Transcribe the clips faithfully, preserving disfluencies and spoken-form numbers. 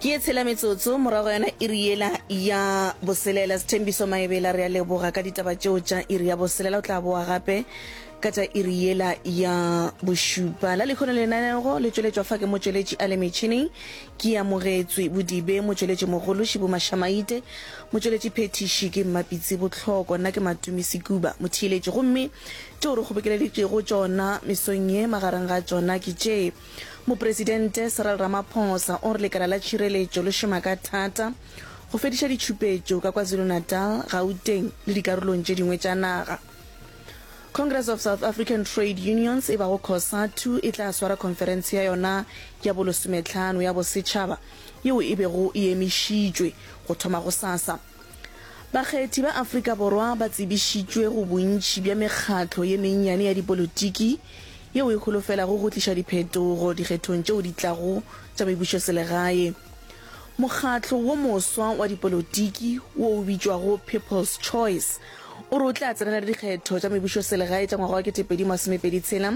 Ke ye tshela metsotso morago yona iri yela ya boselela. Sethembiso Maebela, re a leboga ka ditaba tšeo tša iri ya boselela. O tla boa gape ka tša iri yela ya bošupa. La lehono lenanego le tšweletšwa fa ke motšweletši a le metšhineng ke Amogetswe Bodibe, motšweletši mogolo Šibu Mašamaite, motšweletši phethiši ke Mmapitsi Bohloko, nna ke Matumi Sekuba motheeletši. Gomme tšeo re kgobokeleditšego tšona mesong ye magareng ga tšona ke tše: Mopresidente Cyril Ramaphosa o re lekala la tšhireletšo le šoma ka thata go fediša ditšhupetšo ka KwaZulu-Natal, Gauteng le dikarolong tše dingwe tša naga. Congress of South African Trade Unions e bago COSATU e tla swara khonferense ya yona ya bolesomehlano ya bosetšhaba yeo e bego e emišitšwe go thoma gosasa. Bakgethi ba Afrika Borwa ba tsebišitšwe go bontši bja mekgatlo ye mennyane ya dipolotiki yeo e holofelago go tliša diphetogo dikgethong tšeo di tlago tša mebušoselegae. Mokgatlo wo moswa wa dipolotiki wo o bitšwago People's Choice o re o tla tsenela dikgetho tša mebušoselegae tša ngwaga wa ketepedi masomepedi tshela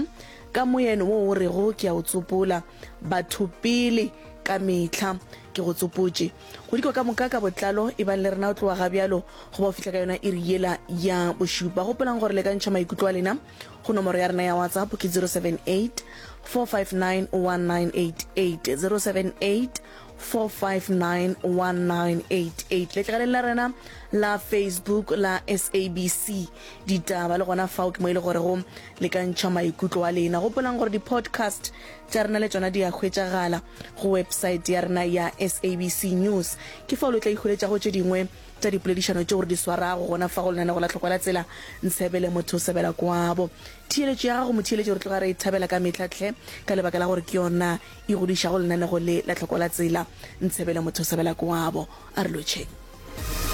ka moeno wo o rego ke a o tsopola, Batho pele ka mehla. Ke go tsopotše go dikwa ka moka ka botlalo. Ebang le rena o tloga ga bjalo go ba o fihla ka yona iri yela ya bošupa. Gopolang gore le ka ntšha maikutlo a lena go nomoro ya rena ya WhatsApp ke zero seven eight four five nine one nine eight eight, zero seven eight four five nine one nine eight eight. Letlakaleng la rena la Facebook la S A B C Ditaba le gona fao ke mo e le gorego le ka ntšha maikutlo a lena. Gopolang gore di-podcast tša rena le tšona di a hwetšagala go website ya rena ya S A B C News. Ke fao le tla ihweletšago tše dingwe tša dipoledišano tšeo re di swarago gona fa go lenanego la Tlhokwa la Tsela, Ntshebele motho o sebela kwabo. Theeletšo ya gago motheeletši re tloga re e thabela ka mehla hle ka lebaka la gore ke yona e godišago lenanego le la Tlhokwa la Tsela, Ntshebele motho o sebela kwabo. A re lotšheng.